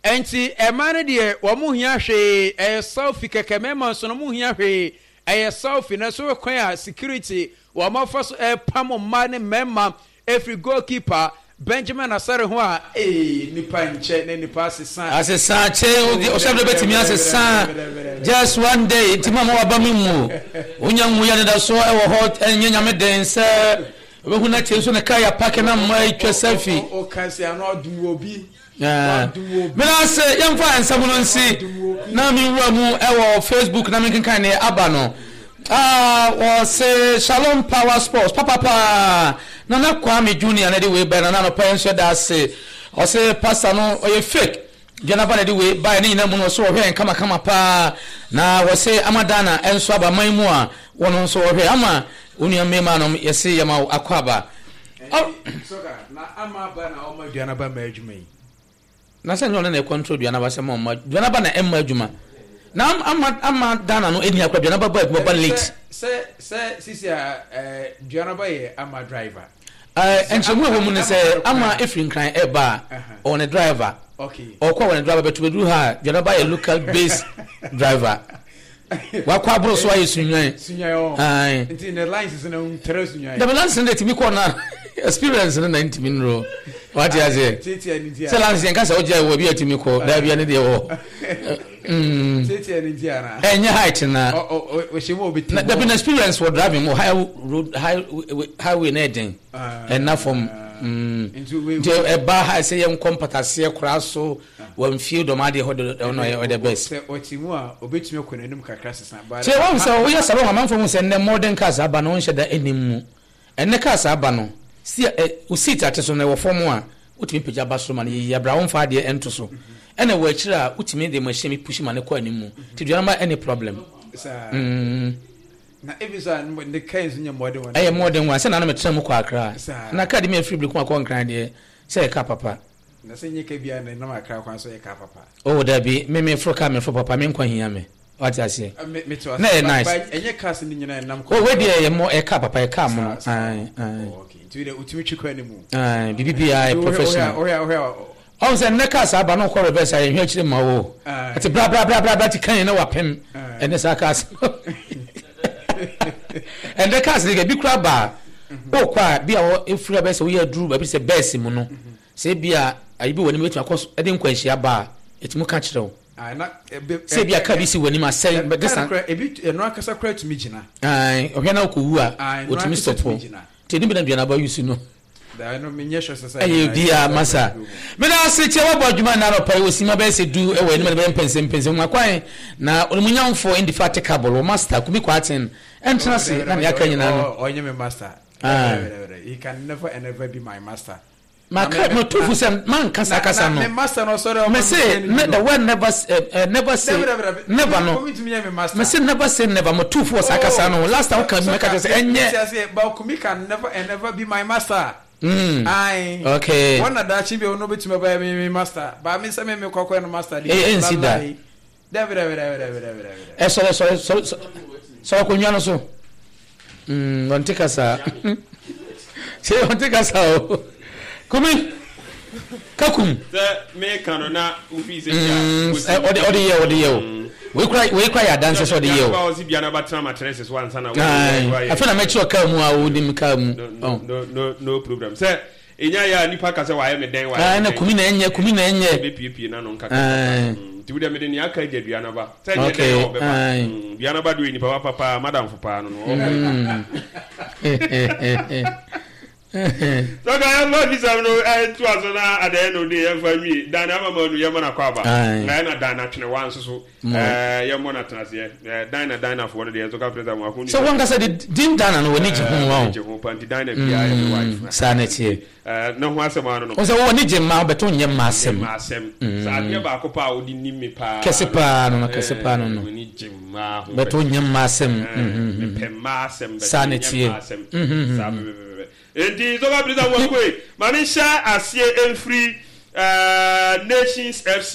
Ɛnti ɛmaa no deɛ wɔn hia hwee, ɛyɛ selfie kɛkɛ. Mɛɛma nso no wɔn hia hwee, ɛyɛ selfie. Na so kwan a security wɔn afa so ɛpam mmaa ne mmarima efiri goalkeeper Benjamin Asare ho a, ee, nipa nkyɛ na nipa asesa. Asesa kyɛ ɔsɛ bɛ bɛtumi asesa just one day. Nti ma ma waba mi mu wonya nwu yɛ deda so ɛwɔ hɔ. Ɛnyɛ Nyame den sɛ wobɛhu no akyɛ nso ne kaa yɛ park na mma atwa selfie. Ɔka sɛ ano adum wɔ bi. Mena ase. Yɛmfa nsɛm no nsi na menwura mu ɛwɔ Facebook na menkenkan ne aba no. Wɔse "Shalom, Power Sports papapaa." Nana Kwame Junior na de wei bɛn. Nana, anɔpa yɛn nso ɛda ase. Ɔse pastor no ɔyɛ fake. Duanaba na de wei baeɛ ne nyinaa mu no, ɔso ɔhwɛ yɛn kamakama paa. Na wɔse ama Dana nso aba man mu a, wɔn nso ɔhwɛ ama onua mmarima nom. Yɛse yɛma wo akɔ aba. Na ama aba na ɔma Duanaba ma adwuma yi. Na sɛ nyɛ ɔno na ɛcontrol Duanaba sɛ ma ɔma Duanaba na ɛmma adwuma na ama Dana no ɛni akora Duanaba ba adwuma ba late. Sɛ sisi a Duanaba yɛ ama driver. Nkyɛnmu a ɛwɔ mu ne sɛ ama efiri Nkran ɛba a, ɔwɔ ne driver. Ɔkɔ a, wɔ ne driver bɛto bɛduru ha a, Duanaba yɛ local base driver. Wakɔ aboro so ayɛ Sunyani. Sunyani. Nti ne lines no ntere Sunyani. Dabi, lines no de tumi kɔ na experience no na ntumi nnuro. Wate aseɛ? Sɛ lines yɛn kasa ɔgya wɔ bi a tumi kɔ daabi a ne deɛ wɔ. Ɛnyɛ height na. Na dabi, na experience wɔ driving mu high road, high highway na ɛden ɛna fam. Nti ɛba ha sɛ yɛn nkɔ mpataseɛ koraa so wɔn fie dɔm adeɛ hɔ de ɔno ɔyɛ the best. Sɛ ɔte mu a, obetumi akɔ n'anim kakra sesa. Sɛ wɔn sɛ woyɛ sɛ wɔn amanfo ho sɛ nnɛ modern cars aba no, wɔnhyɛ da anim mu. Ɛnnɛ cars aba no si ɛ o seat ate so na ɛwɔ fam a, wotumi pagya ba soro ma no yɛ yie abira wɔn fa adeɛ ɛnto so. Ɛna ɛwɔ akyire a, wotumi de machine bi push ma no kɔ anim mu. Ti dua no ma any problem. Na ebi so a ne kaa nso nyɛ modern one. Ɛyɛ modern one sɛ nanu mi tena mu kɔ Akra na kaa de mi efiri Birikun akɔ Nkran deɛ, sɛ yɛ kaa papa. Na sɛ nye ka bia na ɛnam Akra kwan so yɛ kaa papa. Oh dabi, me foro kaa, me foro papa, me nkwa hia me. Wate aseɛ? Na ɛyɛ nice. Ɛnyɛ cars no nyinaa ɛnam kwan. Oh, wei deɛ ɛyɛ mɔ, ɛyɛ kaa papa, ɛyɛ kaa mono. Ayi ayi. Oh, okay, nti wode wotumi twi kwan no mu. Ayi, bibi biara yɛ professional. Ɔn sɛ nnɛ cars aba no, kɔ reverse a, yɛhwɛ akyire ma wo. Ɛte bra bra bra bra bra ti kan yɛn na wapem. Ɛnɛ saa cars. Ɛnɛ cars de bi kura ba a, okɔ a bi a wɔ efiri abɛsɛ woyɛ aduru baabi sɛ bɛɛsi mu no. Sɛ ebi a ayi bi wɔ anim betumi akɔ so ɛde nkwanhyia ba a, ɛtumi ka kyerɛ wo. Sɛ ebi a kaa bi si w'anim asɛe bɛ disa. Ebi ɛno ankasa kora tumi gyina. Ayi, ɔhwɛ na ɔkɔ a, otumi stop. Nti ɛni bi na Duanaba use no. Ɛyɛ bia masa. Meda ase kyɛ wabɔ adwuma nna anɔpa yi wɔ sima bɛyɛ sɛ 10 ɛwɔ anim na bɛyɛ mpɛnsɛmpɛnsɛm mu akwan na onimunyamfo indefatigable wɔ master Kumi Kwarteng ɛntena ase na nea aka nyinaa no. Ɔnyɛ me master. He can never and ever be my master. Maka matufu sɛ manka saa kasa no. Mese the word never, never say never no. Mese never say never. Matufu wɔ saa kasa no. Last time woka bi, mɛka kyerɛ sɛ ɛnyɛ. But Kumi can never and never be my master. Aye. Okay. Wɔn na daakye bi ɔno betumi ɔbɛyɛ me master. Ba mi sɛ me kɔkɔ no master de. Ee, nsi da. Dabi dabi dabi dabi dabi dabi. Ɛ, sɔrɔ sɔrɔ sɔrɔ sɔrɔ akonnwa no so. Ɔnte kasa. Ṣé ɔnte kasa o? Kumi kakum. Sɛ meka no na wofi sɛ ɔde yɛ, ɔde yɛ o. Wei kura yɛ adanse sɛ ɔde yɛ o. Ɔsi bia na batena matrɛse so ansa na. Afei na mɛkyerɛ kaa mu a wonim kaa mu. No no no problem. Sɛ enya yɛ a, nipa ka sɛ wayɛ me dɛn, wayɛ me dɛn. Na Kumi na ɛnyɛ, Kumi na ɛnyɛ. Ɛbɛpiepie n'ano nkaka. Nti wo deɛ, mede nea aka agya Duanaba. Sɛ nyɛ dɛn a ɔbɛba. Duanaba deɛ, ɔyɛ nipa papa paa, madamfo paa no. Sɔka yɛmfa fisɛm no ɛtoa so na adɛn no de yɛmfa nwie. Dan ama ma nu yɛmmɔ no akɔ aba. Na ɛna Dan atwenewa nso so yɛmmɔ no atenaseɛ. Dan na Danafoɔ no deɛ nso ka frɛ sɛ mo ako. Sɛ wɔnkasa de din Dana no, w'ani gye ho wa o. Gye ho pa nti Dana biara yɛ me wife. Saa na ɛteɛ. Ne ho asɛm ano no. Wo sɛ w'ani gye mmaa bɛtɔ nyɛ mmaa asɛm. Mmaa asɛm. Sɛ adeɛ baako paa a wode nim me paa. Kɛse paa no no, kɛse paa no no. M'ani gye mmaa ho. Bɛtɔ nyɛ mmaa asɛm. Mepɛ mmaa asɛm. Saa na ɛteɛ. Bɛtɔ nyɛ mmaa asɛm. Saa pɛpɛpɛpɛ. Enti sɔfo Abirisa Nwankwoe, ma me nhyɛ aseɛ mfiri Nations FC.